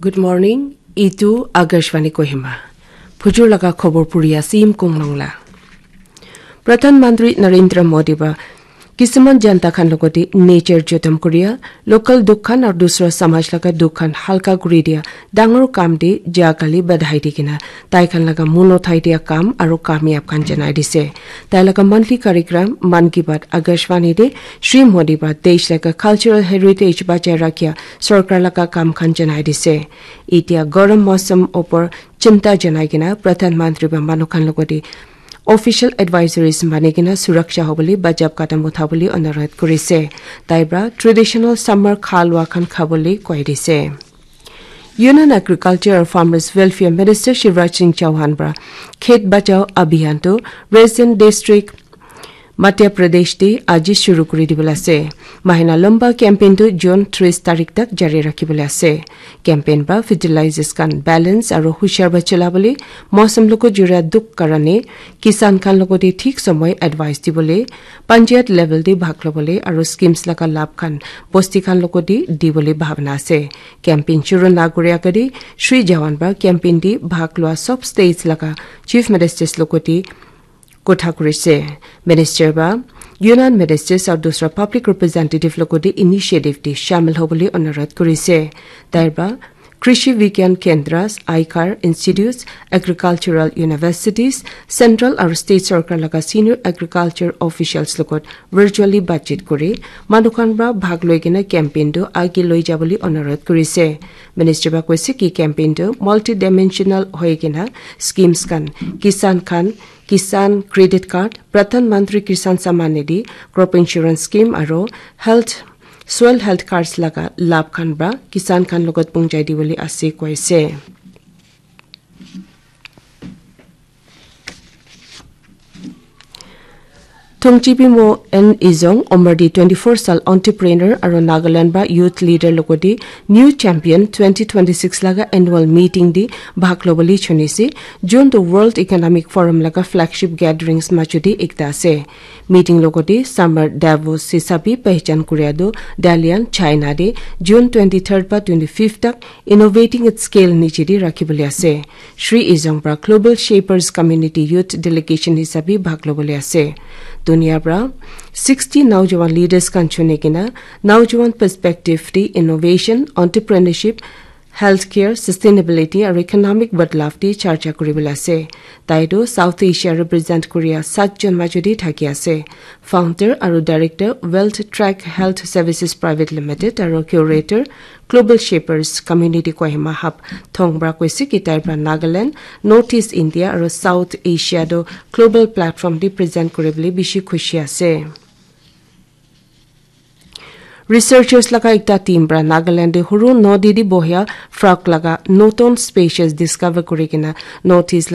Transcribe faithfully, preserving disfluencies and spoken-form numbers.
Good morning. Itu Akashvani Kohima. Phujur laga khobor puri ase Im Kong Long la. Pradhan Mantri Narendra Modi ba kisiman janta khan logoti nature jotam kuria, local dukh khan aru dusra samaj laga dukh khan halka kuri dia dangor kam de ja kali badhai di kena tai khan laga muno thai dia kam aru kamyab khan janai dise. Tai laga monthly karikram Mann Ki Baat Akashvani de Shri Modi ba desh laga cultural heritage bachai rakhia sorkar laga kam khan janai dise. Itia garam mausam opor chinta janai kena Pradhan Mantri ba manu khan logoti official advisories mani kena suraksha hobole bajab kadam uthabole onurodh kurise. Tai pra traditional summer khalwa khan khabole koi dise. Union Agriculture and Farmers Welfare Minister Shivraj Singh Chauhan pra Khet Bachao Abhiyan tu Raisen District, Madhya Pradesh te aji shuru kuri dibole ase. Mahina lamba campaign tu June tris tarik tak jari rakhibole ase. Campaign ba fertilizers khan balance aru hushar ba cholabole, mausam logo jura dukh karane kisan khan logote thik somoy advice dibole, panchayat level te bhag lobole aru schemes laga labh khan bosti khan logote dibole bhabna ase. Campaign shuru na kuri agadi Shri Jawan ba campaign te bhag lua sob states laga chief ministers logote kotha kurise. Minister ba Union Ministers aru dusra public representative logote initiative te shamil hobole onurodh kurise. Tai ba Krishi Vigyan Kendras, Aikar Institutes, Agricultural Universities, Central aru State Sorkar laga senior agriculture officials logot virtually bathchit kuri manu khan pra bhag loi kena campaign tu age loi jabole onurodh kurise. Minister ba koise ki campaign tu multidimensional hoi kena schemes khan, kisan khan, Kisan Credit Card, Pradhan Mantri Kisan Samman Nidhi, Crop Insurance Scheme aru Health, Soil Health Cards laga labh khan pra kisan khan logot pungjai dibole ase koise. Thongchipi Mo N Izong, Omardi twenty-four sal entrepreneur aru Nagaland ba youth leader logote New Champion twenty twenty-six laga annual meeting di bhag lobole chunise. June to World Economic Forum laga flagship gatherings majo de ekta ase. Meeting logote Summer Davos hisabi pehchan kuria do Dalian, China de June twenty-third ba twenty-fifth tak Innovating at Scale niche de rakhibole ase. Shri Izong pra Global Shapers Community Youth Delegation hisabi bhag lobole ase. Dunia pra sixty naujawan leaders khan chuni kena naujawan perspective de innovation, entrepreneurship, healthcare, sustainability aru economic badlav de charcha kuribole ase. Tai tu South Asia represent kuria sat jon majo de thaki ase. Founder aru director Wealth Track Health Services Private Limited aru curator Global Shapers Community Kohima Hub Thong pra koise ki tai pra Nagaland, North East India aru South Asia do global platform de present kuribole bishi khushi ase. Researchers laga ekta team pra Nagaland de huru nodi de bohia frog laga notun species discover kuri kena North East